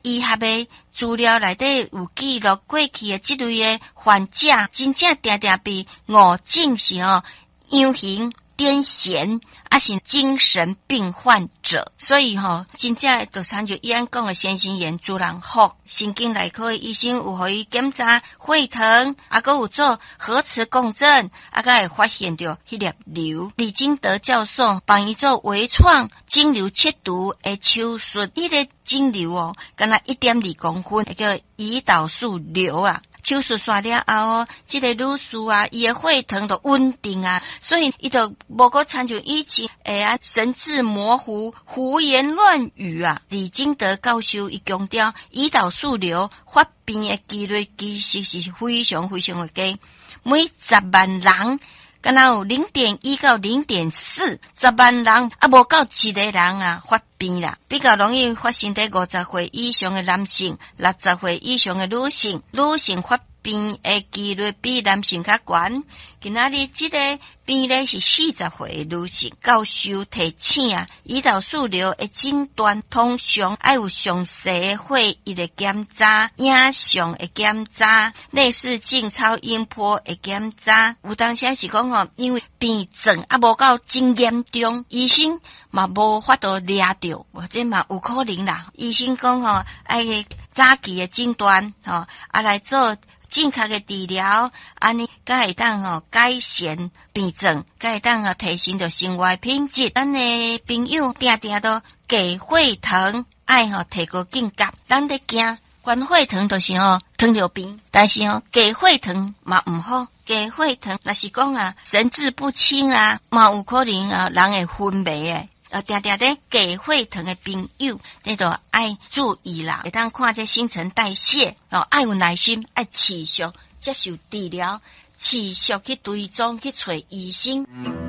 醫學的資料內底有記錄過去的這類的患者，真正定定被誤診是吼樣型癲癇，抑是精神病患者，所以吼，真正就親像伊按講的先心炎主人福神經內科的醫生有予伊檢查血糖，啊，閣有做核磁共振，啊，才會發現著彼粒瘤。李金德教授幫伊做微創腫瘤切除的手術，彼個腫瘤哦，敢若1.2公分，叫胰島素瘤啊。手術煞了後，這個女士啊，伊的血糖就穩定啊，所以伊就無閣親像以前會啊神志模糊、胡言亂語啊。李金德教授伊強調，胰島素瘤發病的幾率其實是非常非常的低，每10萬人敢若有0.1到0.4，10萬人啊無夠一個人啊發病啦，比較容易發生佇50歲以上的男性，60歲以上的女性，女性發病的幾率比男性較懸。今仔日這個病例是40歲的女性，教授提醒啊，胰島素瘤的診斷通常愛有詳細的血液的檢查、影像的檢查、內視鏡超音波的檢查。有當時是講吼，因為病症啊無夠真嚴重，醫生嘛無法度掠著，或者嘛有可能啦。醫生講吼，愛早期的診斷吼，啊來做正確的治療，按呢才會當吼改善病症，才會當吼提升著生活品質。咱的朋友定定都低血糖，愛吼提高警覺。咱咧驚懸血糖，就是吼糖尿病，但是吼低血糖嘛毋好。低血糖若是講啊神志不清啊，嘛有可能啊人會昏迷的。定定咧低血糖的朋友，你就愛注意啦，會當看這新陳代謝哦，愛有耐心，愛持續接受治療，持續去追蹤去揣醫生。